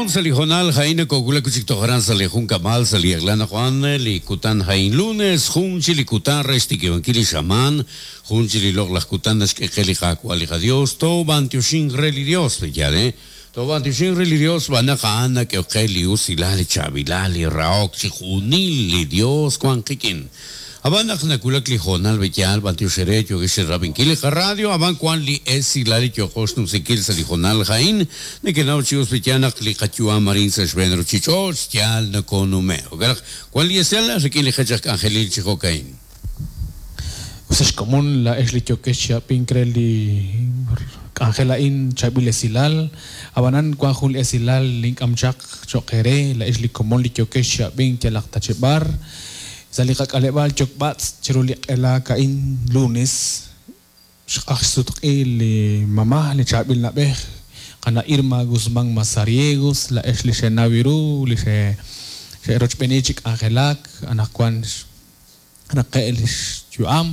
Komon sa' li hoonal ha'in nakowulak wi' chik toj aran sa' li junkab'al sa' li eq'la anaqwan li kutan ha'in lunes jun chik li kutan re xtikib'ankil li xamaan jun chik li loq'laj kutan naxk'e qe li Qaawa' li qaDios toob'antioxinq re li Dios pe'yaal eh toob'antioxinq re li Dios xb'aan naq a'an nak'ehok qe li usilal li chaab'ilal li rahok chi junil li Dios wank qik'in. Ab'an naq nawulak li hoonal b'eyaal b'antiox eere yookex chirab'inkil li qaradio, ab'an wank li esilal li yooqo xnumsinkil sa' li hoonal a'in. Nekenaw chi us b'eyaal naq li qayu'am arin sa' xb'een ruchich'och' yaal nokonume'. Jo'kan naq wank li esilal rik'in li qech aj k'anjelil chi jo'ka'in. Us ex komon, laa'ex li yookex chi ab'ink re li k'anjel a'in chaab'il esilal. Ab'anan wank jun li esilal li ink'am chaq cho'q eere, laa'ex li komon li yookex chi ab'ink yalaq ta chi b'ar. Sa' li qak'aleb'aal Yokb'atz' chiru li q'ela ka'in lunes, xq'aj xsutq'i li mama, li chaab'il na'b'ej, qana' Irma Guzmán Mazariegos, laa'ex li xenaw ru, li xe'rochb'eeni chi k'anjelak, anaqwan xraqe' li xyu'am.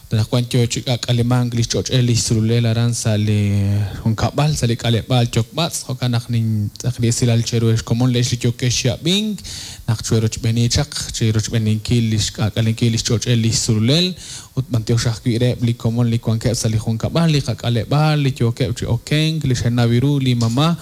Ut anaqwan yo chi k'aak'alemank li xch'och'el li xsululel aran sa' li junkab'al, sa' li k'aleb'aal Yokb'atz'. Jo'kan naq nintz'aq li esilal cheru ex komon le'ex li yookex chi ab'ink, naq chwerochb'eeni chaq chi rochb'eeninkil li xk'aak'alenkil li xch'och'el li xsululel ut b'antiox ajwi' reheb' li komon li wankeb' sa' li junkab'al, li qak'aleb'aal, li yookeb' chi okenk, li xenaw ru li mama'.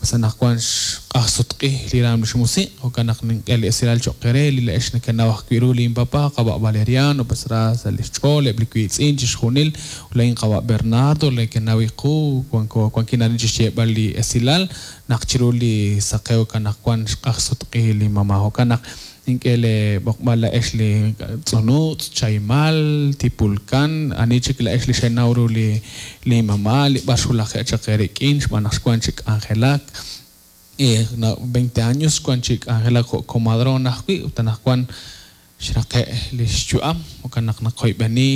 Us anaqwan xq'aj sutq'i li raam lix musiq', jo'kan naq nink'e li esilal choq' eere, li laa'ex nekenaw ajwi' ru lin papa, qawa' Valeriano, pues ra sa' lix ch'ool, eb' li wiitz'in, chixjunil, ut laa'in qawa' Bernardo, nekenaw iqu, wanko, wankin arin chixyeeb'al li esilal, naq chiru li saqewk anaqwan xq'aj sutq'i li mama'. Jo'kan naq Nink'e lee b'oqb'al laa'ex li tz'unuutz', chahimal, tipulkan, ani chik laa'ex li xenaw ru li li mama' li b'ar xwulaje' chaq eerik'in xb'aan naq xwank chi k'anjelak veinte años xwank chi k'anjelak jo' comadrona ajwi' ut anaqwan xraqe' li xyu'am jo'kan naq naqoyb'eni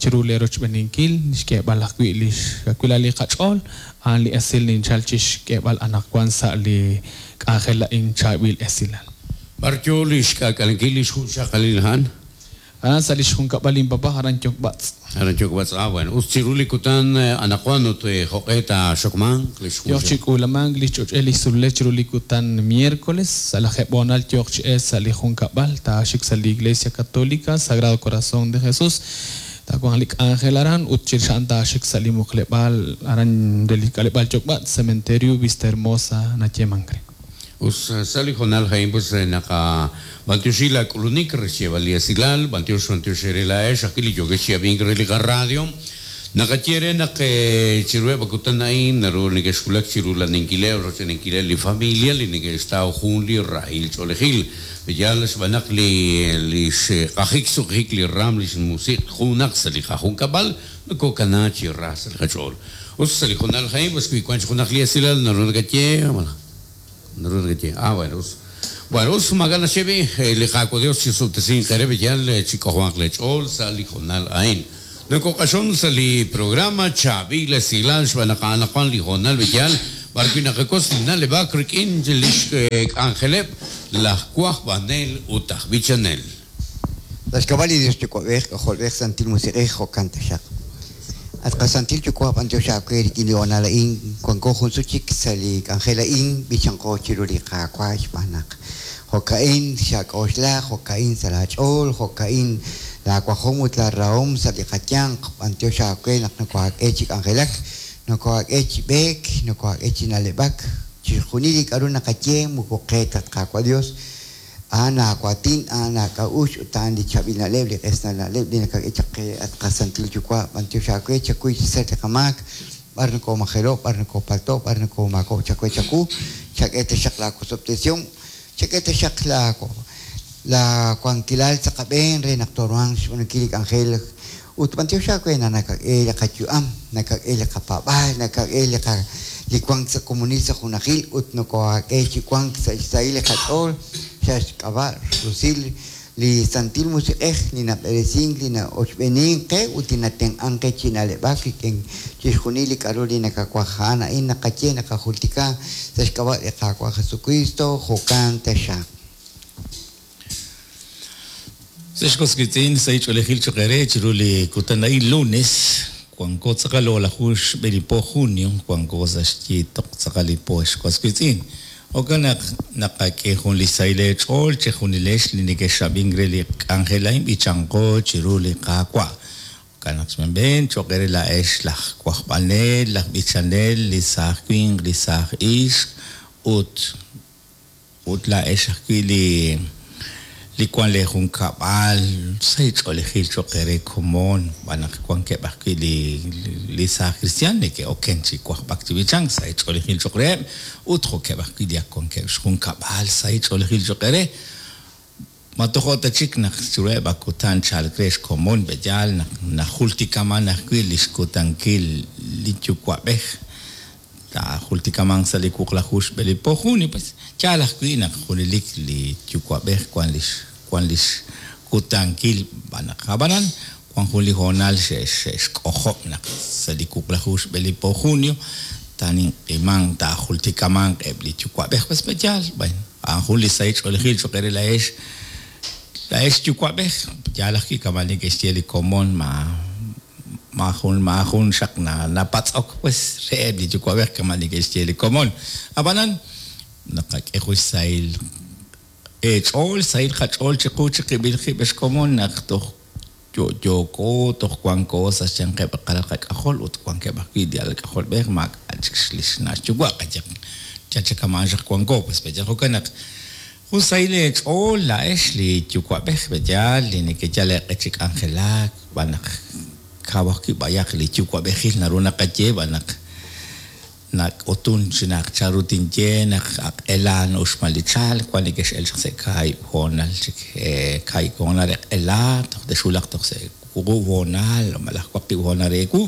chiru lee rochb'eninkil xk'eeb'al ajwi' li xkawilal li qach'ool a'an li esil ninchal chi xk'eeb'al anaqwan sa' li k'anjel a'in chaab'il esilal. B'ar yoo li xk'aak'alenkil li xjunxaqalil a'an? Aran sa' li xjunkab'al linpapa, aran Yokb'atz'. Aran Yokb'atz', ah bueno, us chiru li kutan anaqwan ut jo'q'e taaxokmanq li xjunxaqalil? Yooq chi k'uulamank li xch'och'el li xsululel chiru li kutan miércoles, sa' lajeeb' hoonal yooq chi elk sa' li junkab'al, taaxik sa' li Iglesia Católica Sagrado Corazón de Jesús, taawanq li k'anjel aran ut chirix a'an taaxik sa' li muqleb'aal aran re li k'aleb'aal Yokb'atz', Cementerio Vista Hermosa nayeemank re. Us sa' li hoonal a'in pues naqab'antioxi la k'ulunik re xyeeb'al li esilal, b'antiox b'antiox eere laa'ex ajwi' li yookex chi ab'ink re li qaradio. Naqaye eere naq chiruheb' a kutan a'in naru nekexwulak chi rula'ninkileb' rochb'eeninkileb' li familia li neke'xtaw jun li rahil ch'oolejil. Yaal xb'aan naq li li xq'ajik xsuq'jik li raam lix musiq' junaq sa' li qajunkab'al nokokana chi ra sa' li qach'ool. Us sa' li hoonal a'in pues wi wank junaq li esilal naru nakaye malaj Naru nakaye, Ah, bueno, us. Bueno, us, maak'a' naxye b'i', li Qaawa' Dios chisub'tesinq eere b'iyal chi k'ojob'anq lee ch'ool sa' li hoonal a'in. Nokoq'axon sa' li programa Chaab'il Esilal xb'aan naq anaqwan li hoonal b'iyal b'ar wi' naqakotz li na'leb'ak rik'in lix k'anjeleb' laj wajb'anel ut aj b'ichanel. Sa' xk'ab'a' li Dios Yuwa'b'ej, K'ajolb'ej, Santil Musiq'ej, jo'kan taxaq. At qaSantil Yuwa', b'antiox aawe rik'in li hoonal a'in, wanko jun sut chik sa' li k'anjel a'in, b'ichanqo chiru li Qaawa' xb'aan naq jo'ka'in xak'oxla, jo'ka'in sa' laa ch'ool, jo'ka'in laa wajom ut laa rahom sa' li qayanq. B'antiox aawe naq nokohaak'e chi k'anjelak, nokohaak'e chi b'eek, nokohaak'e chi na'leb'ak. Chixjunil li k'a'ru naqaye moko qe ta, at Qaawa' Dios. A'an aawaatin, a'an aak'a'uxl, ut a'an li chaab'il na'leb', li q'esnal na'leb' li nakak'e chaq qe, at qaSantil Yuwa'. B'antiox aawe, chakuy chi sach li qamaak, b'ar nokoomajelo', b'ar nokoopalto', b'ar nokoomaakob'k chawe chawu. Chak'e taxaq laa wosob'tesihom, chak'e taxaq laa laa wankilal sa' qab'een re naq tooruhanq xb'aanunkil li k'anjel. Ut b'antiox aawe naq nakak'e li qayu'am, nakak'e li qapaab'aal, nakak'e li qa li wank sa' komonil sa' junajil ut nokohaak'e chi wank sa' xsahil li qach'ool sa' xk'ab'a' rusil li Santil Musiq'ej li nab'eresink, li na'ochb'eenink qe ut li natenq'ank qe chi na'leb'ak rik'in chixjunil li k'a'ru li nakawaj. A'an a'in naqaye, naqajultika sa' xk'ab'a' li Qaawa' Jesukristo, jo'kan taxaq. Sa' xkos wiitz'in, sahil ch'oolejil choq' eere chiru li kutan a'in lunes, wanko tz'aqal o'laju xb'e li po junio, wanko sa' xyiitoq tz'aqal li po xkos wiitz'in. Jo'kan naq naqak'e jun li sahil eech'ool chejunilex li nekexab'ink re li k'anjel a'in b'ichanqo chiru li Qaawa'. Jo'kan naq xb'een cho'q eere laa'ex laj wajb'anel, laj b'ichanel, li saaj winq, li saaj ixq ut ut laa'ex ajwi' li li wank leejunkab'al sahil ch'oolejil cho'q eere komon, xb'aan naq wankeb' ajwi' li li saaj kristiaan neke'oken chi wajb'ak chi b'ichank, sahil ch'oolejil cho'q reheb' ut jo'keb' ajwi' li ak wankeb' xjunkab'al, sahil ch'oolejil cho'q eere. Ma tojo' ta chik naq chiruheb' a kutan chalk re xkomon b'eyaal naq najultikaman ajwi' li xkutankil li yuwa'b'ej taajultikamanq sa' li wuqlaju xb'e li po junio, pues yaal ajwi' naq junelik li yuwa'b'ej wan lix wan lix kutankil xb'aan naq ab'anan wan jun li hoonal xe'xk'ojob' naq sa' li wuqlaju xb'e li po junio taaninq'imanq taajultikamanq eb' li yuwa'b'ej, pues b'eyaal, bueno, a'an jun li sahil ch'oolejil cho'q eere laa'ex laa'ex yuwa'b'ej, yaal ajwi' kama' neke'xye li komon ma maajun maajun xaq napatz'ok pues reheb' li yuwa'b'ej kama' neke'xye li komon, ab'anan naqak'e jun xsahil eech'ool, xsahil qach'ool chiqu chiqib'il qib' ex komon naq toj yo'yooko, toj wanko sa' xyanqeb' li qalal qak'ajol ut wankeb' ajwi' li alal k'ajolb'ej maak'a' chik li xna' xyuwa' qayehaq yal chik kama'an xaq wanko pues b'eyaal jo'kan naq jun sahil eech'ool laa'ex li yuwa'b'ej b'eyaal li nekeyal eeq'e chi k'anjelak xb'aan naq kaw ajwi' b'ayaq li yuwa'b'ejil naru naqaye xb'aan naq Nak'utun chi naq chanru tinye naq aq'ela na'uxman li chalk, wan nekex'el chaq sa' kaahib' hoonal chik, kaahib' hoonal re q'ela, toj texwulaq toj sa' wuqub' hoonal malaj waqib' hoonal re ewu,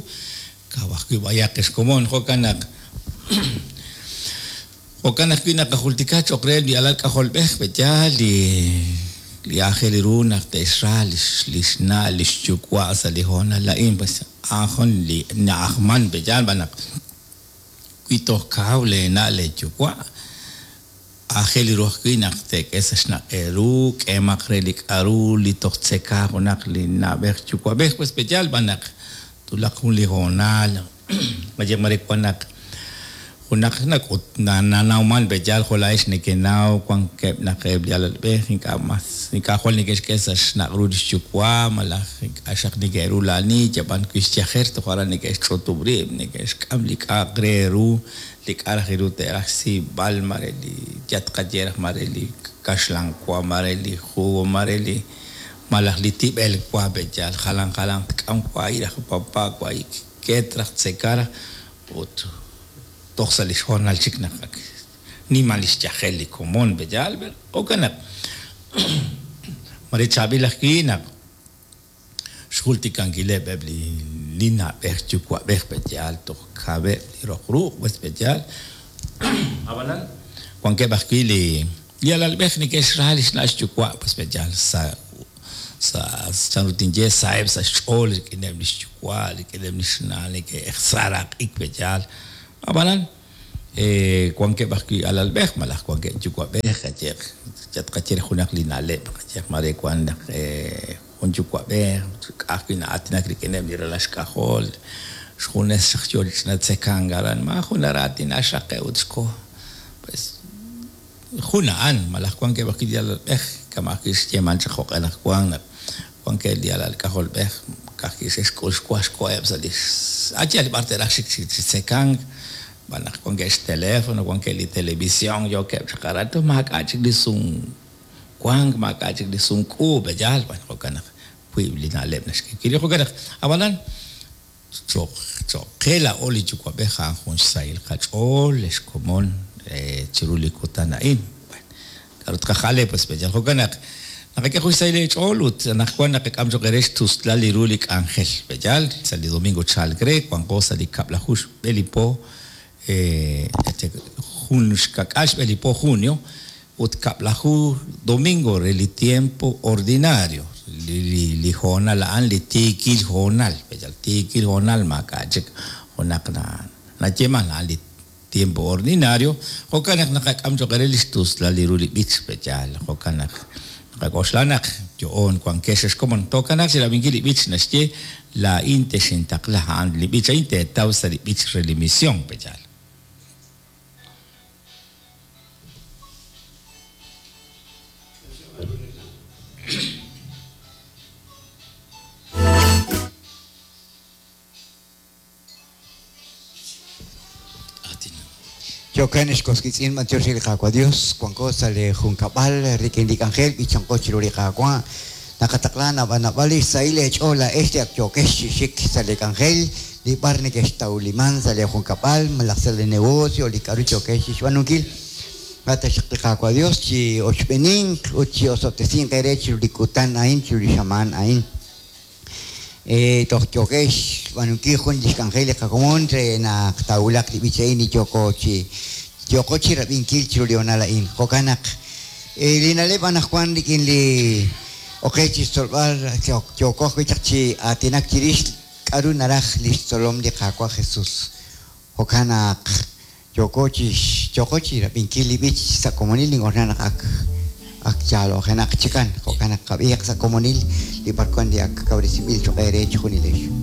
kaw ajwi' b'ayaq ex komon. Jo'kan naq jo'kan ajwi' naqajultika cho'q reheb' li alal k'ajolb'ej, pe'yaal li li aajel ru naq te'xra lix lix na' lix yuwa' sa' li hoonal a'in, pues a'an jun li na'ajman, pe'yaal b'an naq wi toj kaw leena' leeyuwa', aajel ru ajwi' naq teek'e sa' xnaq' eeru, k'eemaq re li k'a'ru li toj tzeka junaq li na'b'ej yuwa'b'ej, pues pe'yaal b'an naq twulaq jun li hoonal, qayehaq mare wan naq junaq nak'ut nanawman pe'yaal jo' laa'ex nekenaw wankeb' naq eb' li alalb'ej ink'a' mas ink'a' jwal neke'xk'e sa' xnaq' ru li xyuwa' malaj ink'a' xaq neke'rula'ani yab'an wi xyajer toj aran neke'xch'utub' rib' neke'xk'am li k'a'aq re ru li k'a' raj ru te'raj xsiib'al mare li yal tqaye raj mare li kaxlan wa mare li jugo mare li malaj li tib'el wa pe'yaal jalan jalanq tk'am wahi' raj papa wahi' ket raj tzeka raj ut toj sa' li xhoonal chik naq ak nimal li xyajel li komon pe'yaal, jo'kan naq mare chaab'il ajwi' naq xjultikankileb' eb' li li na'b'ej yuwa'b'ej pe'yaal toj kaweb' li roq ruq' pues pe'yaal, ab'anan wankeb' ajwi' li li alalb'ej neke'xra li xna' xyuwa' pues pe'yaal sa' sa' chanru tinye saheb' sa' xch'ool rik'ineb' li xyuwa' rik'ineb' li xna' neke'saraq'ik pe'yaal, ab'anan wankeb' ajwi' alalb'ej malaj wankeb' yuwa'b'ej qayehaq yal tqaye re junaq li na'leb' qayehaq mare wan naq jun yuwa'b'ej ka'ajwi' na'aatinak rik'ineb' li ralal xk'ajol xjunes xaq yo chi ch'ina tzekank aran maajun naraatina xraqe' ut xko pues jun a'an malaj wankeb' ajwi' li alalb'ej kama' ajwi' xyeeman chaq jo'q'e naq wank naq wankeb' li alal k'ajolb'ej ka'ajwi' xe'xk'ul xwa xkoheb' sa' li a' yaal b'ar te'raj xik chi tzekank xb'aan naq wankeb' xteléfono wankeb' li televisión yookeb' chaq aran toj maak'a' chik li sumwank maak'a' chik li sumk'uub' yaal bueno jo'kan naq wiib' li na'leb' naxk'e wi' jo'kan naq ab'anan Cho'q cho'q qe laa'o li yuwa'b'ej a'an jun xsahil qach'ool ex komon chiru li kutan a'in. Bueno, k'aru tqajal pues b'eyal jo'kan naq naqak'e jun xsahil eech'ool ut anaqwan naqak'am cho'q eere xtuslal li ru li k'anjel. B'eyal sa' li domingo chalk re wanqo sa' li kab'laju xb'e li po jun xka'k'aal xb'e li po junio ut kab'laju domingo re li tiempo ordinario, li li hoonal a'an li tiikil hoonal, yal tiikil hoonal maak'a' chik junaq na nayeeman a'an li tiempo ordinario, jo'kan naq naqak'am cho'q eere li xtuslal li ru li b'ich, pe'yaal jo'kan naq naqak'oxla naq yo'oon wankex ex komon. Tookanaaq chi rab'inkil li b'ich naxye Laa'in texintaqla, a'an li b'ich a'in teetaw sa' li b'ich re li mision, pe'yaal. Jo'kan ex was wiitz'in, b'antiox re li Qaawa' Dios, wanko sa' li junkab'al rik'in li k'anjel b'ichanqo chiru li Qaawa'. Naqataqla naab'al naab'al li xsahil eech'ool laa'ex li ak yookex chi xik sa' li k'anjel, li b'ar nekextawliman sa' li junkab'al malaj sa' li negocio li k'a'ru yookex chixb'aanunkil. Taxaq li Qaawa' Dios chi ochb'eeninq ut chi osob'tesinq eere chiru li kutan a'in, chiru li xamaan a'in. Toj yookex xb'aanunkil jun lix k'anjel li qakomon re naq taawulaq li b'ich a'in li yooko chi yooqo chi rab'inkil chiru li honal a'in. Jo'kan naq li na'leb' anaqwan rik'in li oqej chi xtzolb'al yooko ajwi' chaq chi aatinak chirix k'a'ru naraj li xtzolom li Qaawa' Jesus. Jo'kan naq yooko chi yooko chi rab'inkil li b'ich sa' komonil nink'oxla naq ak ak yaalo'jenaq chikan. Jo'kan naq qab'iiq sa' komonil li b'arwan li ak kawresinb'il choq' eere chijunilex.